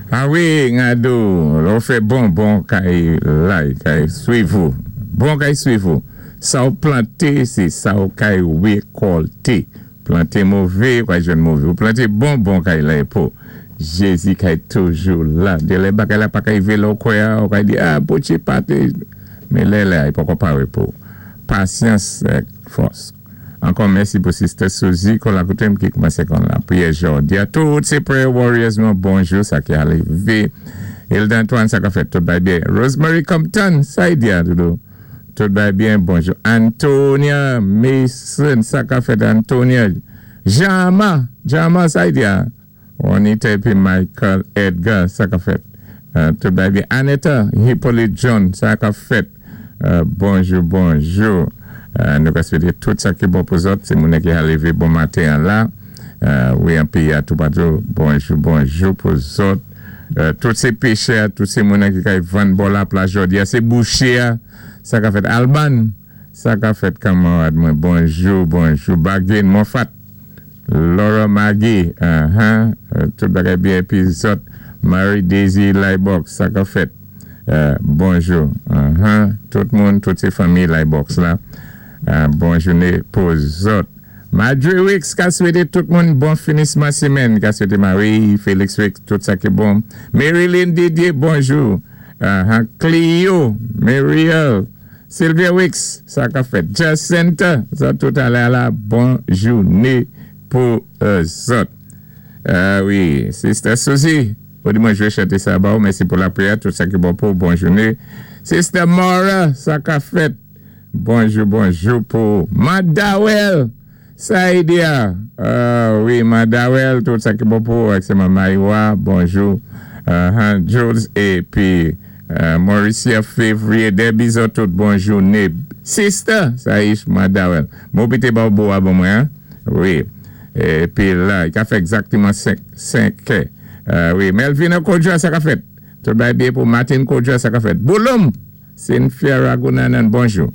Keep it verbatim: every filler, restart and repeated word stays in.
Ah wi, Ngado, lè ou fè bon, bon kay la, kay swiv ou. Bon kay swiv ou. Sa ou planté, sé sa ou kay wékòlté. Planté mové, ou kay jwenn mové. Ou planté bon, bon kay la pou. Jézi kay toujou la. Dé lè bagay la pa kay rivé lè ou kwè, ou kay di, ah, Bondjé pa té. Men lè la, i poko paré pou. Pasyans, fòs. Ankò mèsi pou Sister Suzy kon la koté ki koumansé kon lapriyè jòdi. A tout sé prayer warriors nou bonjou sa ki arivé. Hilda Antoine sa ka fèt tout bay byen. Rosemary Compton, sa y di a doudou. Tout bay byen, bonjou. Antonia Mason, sa ka fèt Antonia. Jama, Jama sa y di a. Juanita épi Michael Edgar, sa ka fèt. Uh, tout bay byen. Aneta Hippolyte John, sa ka fèt. Uh, bonjou, bonjou. Euh, nou ka swété tout sa ki bon pou zòt, sé moun ki lévé bon maten la. Euh, wi, an péyi a toupatou. Bonjou, bonjou pou zòt. Euh, tout sé péchè, tout sé moun ki kay vann bò laplaj jòdi a, sé bouché, sa ka fèt Alban, sa ka fèt kanmarad mwen. Bonjou, bonjou. Bagin Moffat, Laura Maggie, uh -huh, tout bagay byen, épi zòt, Marie Daisy Lybox, sa ka fèt. Euh, bonjou. Uh -huh, tout moun, tout sé fanmi Lybox la. Uh, bon jouné pou zòt. Madre Wicks ka swété tout moun bon finisman sémèn. Ka swété Marie, Félix Wicks, tout sa ki bon. Marilyn Didier, bonjou. Uh -huh. Clio, Mariel, Sylvia Wicks, sa ka fèt. Jacinta, sa tout alé la, bon jouné pou uh, zòt. Uh, wi, Sister Suzy, ou di mwen jwé chanté sa ba ou, mèsi pou lapriyè, tout sa ki bon pou, bon jouné. Sister Mora, sa ka fèt. Bonjou, bonjou pou Madawel. Sa y di a. Uh, wi, Madawel, tout sa ki bon pou, ak sé Maïwa, bonjou. Uh, Jules épi uh, Mauricia Février, Debbie zòt tout bon jouné. Sister, sa y Madawel. Mwen pité ba ou bon mwen, wi. Épi la, i ka fè egzaktéman senk è. Uh, wi, Melvina Kodja, sa ka fèt. Tout bay byen pou Martin Kodja, sa ka fèt. Bouloum, Cynthia Ragunanan, bonjou.